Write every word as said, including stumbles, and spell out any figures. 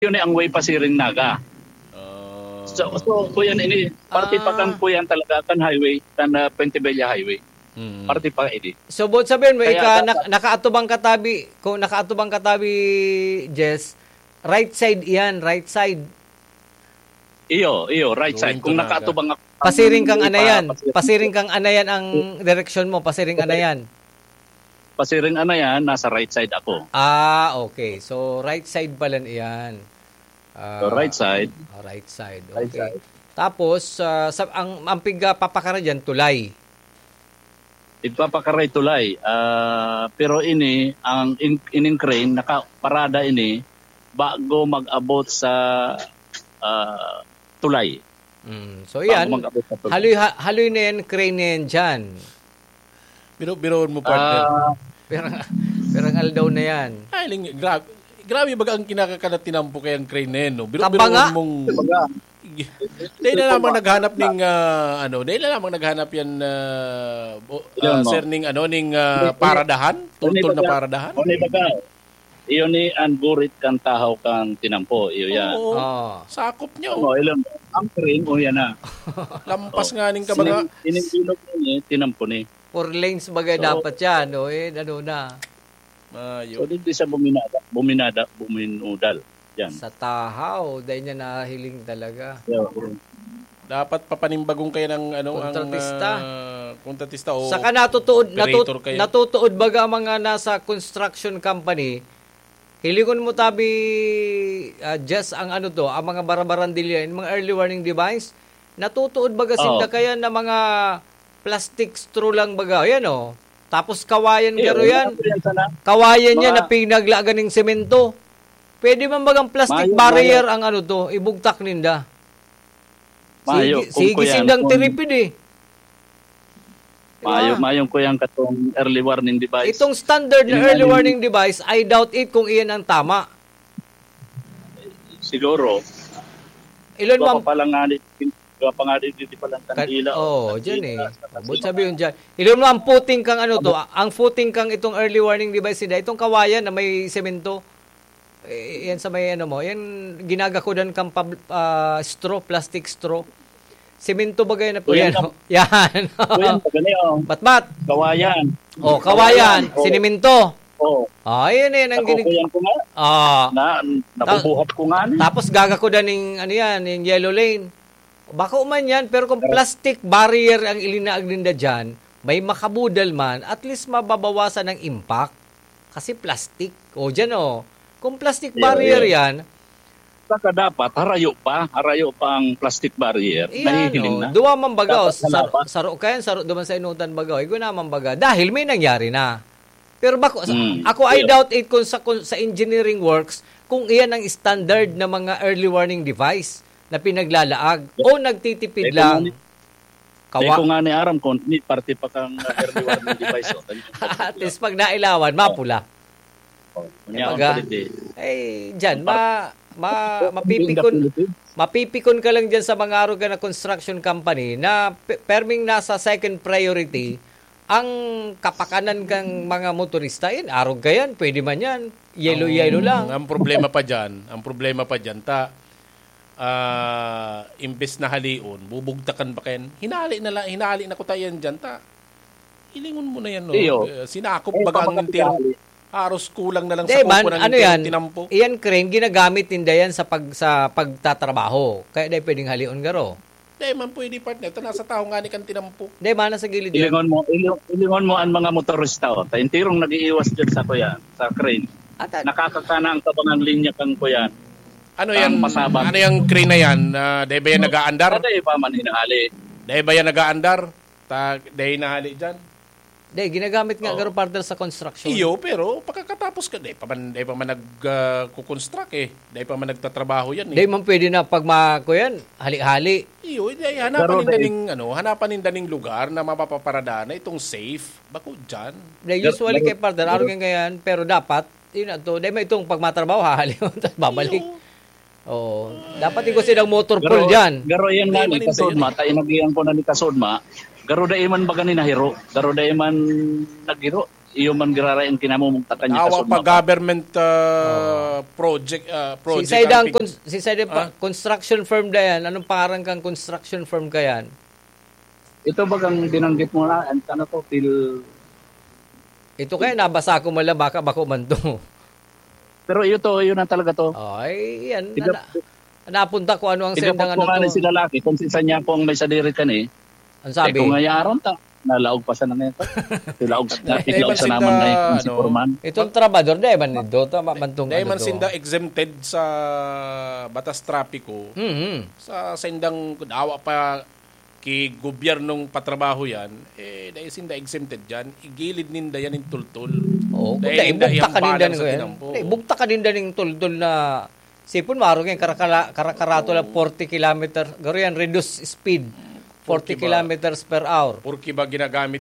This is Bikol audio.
yun ang way pasiring Naga. Ah. So, so kuyan ini, parte pa Ah. kan kuyan talaga, kan highway, kan uh, Puente Vella Highway. Mm. Parte pa ini. So, buot sabihin mo, Kaya ika, dapat- nak- nakaatubang katabi, kung nakaatubang katabi, Jess, right side iyan, right side. Iyo, iyo, right Going side. to Kung Naga. nakaatubang ako, Pasiring kang pa- anayan. pasiring- Pasiring kang anayan ang direksyon mo. Pasiring anayan. Pasiring anayan, nasa right side ako. Ah, okay. So, right side pala iyan. Ah, So, right side. ah, right side. Right Okay. side. Tapos, ah, sa, ang, ang pigpapakara dyan, tulay. Igpapakaray tulay. Ah, pero ini, ang in, ining crane, nakaparada ini, bago mag-abot sa ah, tulay. Mm. So, yan. Bago mag-abot sa tulay. Haloy, ha- haloy na yan, crane na yan dyan. Biro-biroon mo, partner. Ah, Pero, pero ang aldaw na yan. Ay, ling, grabe. Grabe baga ang kinakakanat tinampo kayang crane na yan, no? Biro-biroon Tamba nga. mong... Kumbaga, Dahil na lamang naghanap ning ah, ano, dahil na lamang naghanap yan ah, o- Ilan ah, mo? sir, ning ano, ning ah, Hindi, hindi. paradahan, tultol na Hindi, paradahan. Ano ba ka? Iyo ni ang gurit kan tahaw kan tinampo, iyo yan. Oo. Oh. Sakop niya. Oo, ilang ang crane, o yan na. Lampas nga ning kabaga. Ining bilog ni tinampo ni. Four lanes bagay So, dapat yan, no? Eh, ano na. So, Mayo. di, di siya buminada, buminada, buminudal. Yan. Sa tahaw, dahil niya nahiling talaga. Yeah. Dapat papanimbagong kayo ng ano, Kontratista. ang ah, kontratista o Saka natutuod, operator natut, kayo. Natutuod baga ang mga nasa construction company, hilingon mo tabi, ah, just ang ano to, ang mga barabarandilya, yung mga early warning device, natutuod baga sinda Oo. kaya na mga plastic straw lang baga. Yan, oh. Tapos kawayan Eh, garo wala yan. po yan sana. Kawayan niya Mga na pinaglagan ng semento. Pwede man bagang plastic Mayo, barrier ang ano to, ibugtak ninda. Mayo, Sige, kung sige kuya, sindang kung- tiripid eh. Mayo, Diba? mayong kuyang katong early warning device. Itong standard na Yun early ang- warning device, I doubt it kung iyan ang tama. Siguro. Ilon Iba mo, pa lang nga ni, iba pa nga di, di pa lang Kan- kandila. oh, Kandila, dyan eh. sa- sa- Abot sabi yun dyan. Ilon mo ang puting kang ano to, ang puting kang itong early warning device nila, itong kawayan na may semento. Eh, yan sa may ano mo, yan ginagakudan kang pab- ah, straw, plastic straw. Semento ba ganyan na po Kuya, yan? Yan. Kuya, pag ano yun? Batbat. Kawayan. Oh, kawayan, Oh. Siniminto. Oh, Ah, yun, yun ang ako ginig- kuya ko nga. Ah. Na, nabubuhat ko nga. Ni. Tapos gagakudan ning ano yan, yung yellow lane. Bako man yan, pero kung plastic barrier ang ilinaag ninda dyan, may makabudal man, at least mababawasan ang impact. Kasi plastic. O dyan o. Kung plastic Yeah, barrier yeah. yan, Saka dapat, harayo pa. Harayo pa ang plastic barrier. Iyan, Nahihiling oh, na. duwa man baga, oh, Dapat sa saro, laban. saro kayan, saro duman sa inutan baga, oh, igwa naman baga, dahil may nangyari na. Pero bako, sa- Mm, ako, I yeah. doubt it kung sa, kung sa engineering works, kung iyan ang standard na mga early warning device na pinaglalaag o nagtitipid Eh, lang. kung ano- Kawa- Eh, kung nga ni Aram, kung ni parte pa kang uh, early warning device. Oh, At least pag nailawan, mapula. Oh, kunya Baga. ang palit eh. Eh, dyan, ma, ma, mapipikon, mapipikon ka lang dyan sa mga arog na construction company na pe- perming nasa second priority ang kapakanan kang mga motorista. Yan, arog ka yan, pwede man yan. Yellow-yellow lang. Ang problema pa dyan, ang problema pa dyan, ta, ah, imbes na halion, bubugtakan pa kayan. Hinali na lang, hinali na ko tayan dyan, ta. Hilingon mo na yan, no? Iyo. Eh, sinakop Eh, baga ang pamakakita entero. hali. Haros kulang na lang Hindi, sa kuko man, ng ano entero yan? Tinampo. Iyan crane, ginagamit ninda yan sa, pag, sa pagtatrabaho. Kaya dahil pwedeng halion garo. Di man pwede, partner. Ito, nasa taho nga ni kan Tinampo. Hindi, mana sa gilid yan. Ilingon mo, iling- ilingon mo ang mga motorista. Oh. Ta enterong nag-iiwas dyan sa kuya, sa crane. At, at, Nakakakana ang kabangang linya kang kuya. Ano Ang yung, masabang. Ano yung crane na yan? Uh, di ba yan nag-aandar? Kada iba man hinahali. Di ba yan nag-aandar? Ta, di nahali dyan? Hindi, ginagamit nga Oo. garo partner sa construction. Iyo, pero pagkakatapos ka, di pa man, di pa man nag-construct eh. Di pa man nagtatrabaho yan eh. Hindi man pwede na pag ma-, ko yan, hali-hali. Iyo, hindi, hanapan Pero ninda dahil- ning, ano, hanapan ninda ning lugar na mapapaparada na itong safe. Bako dyan. Hindi, usually Pero- kay partner, araw yan ganyan, pero dapat, yun na to, dahil may itong pagmatrabaho, hahali mo, tapos babalik. Iyo. Oo. Dapat ikaw silang motor pool dyan. Garo yan nga Hindi, ni Kasudma, ta inagihan ko na ni Kasudma, garo dai man baga ni nahiro, garo dai man naghiro. iyo man giraray ang kinamumugtakan niya Awa kasunod pa na. Government, ah, project, ah, Si project Saida ang ang pig- cons- si Saida pa, Ah? Construction firm da yan. Anong pangaran kang construction firm ka yan? Ito bagang binanggit mo na, ang ano to, Phil- Ito kaya nabasa ko man lang, baka bako man to. Pero iyo to, iyo na talaga to. Oh, ay, yan. Tiga- Ana, napunta ko ano ang Tiga sendang pa ano ko nga ni to. Sila laki, kung si Sanya po ang may sadiri ka ni, Ang sabi? Eh, kung ngayaron ta, nalaog pa siya na ngayon. Tilaog, Dahil tilaog man sa sinda, naman na yung si ano, Foreman. Itong trabador, dahil man nito, tama man tong Dahil ano man to. Sinda exempted sa batas trapiko, Mhm. sa sendang dawa pa ki gobyernong patrabaho yan, eh, dahil sinda exempted dyan, igilid ninda yan yung tultol. Oo, Dahil dahil ninda bugta ka ninda iyambalang ni sa kuya. Tinampo. Dahil bugta ka ninda ning tultol na sipon, maro kayong karakala-, karakarato lang, Oo. forty kilometer. Garo yan, reduce speed. Forty Porke ba kilometers per hour. Porke ba ginagamit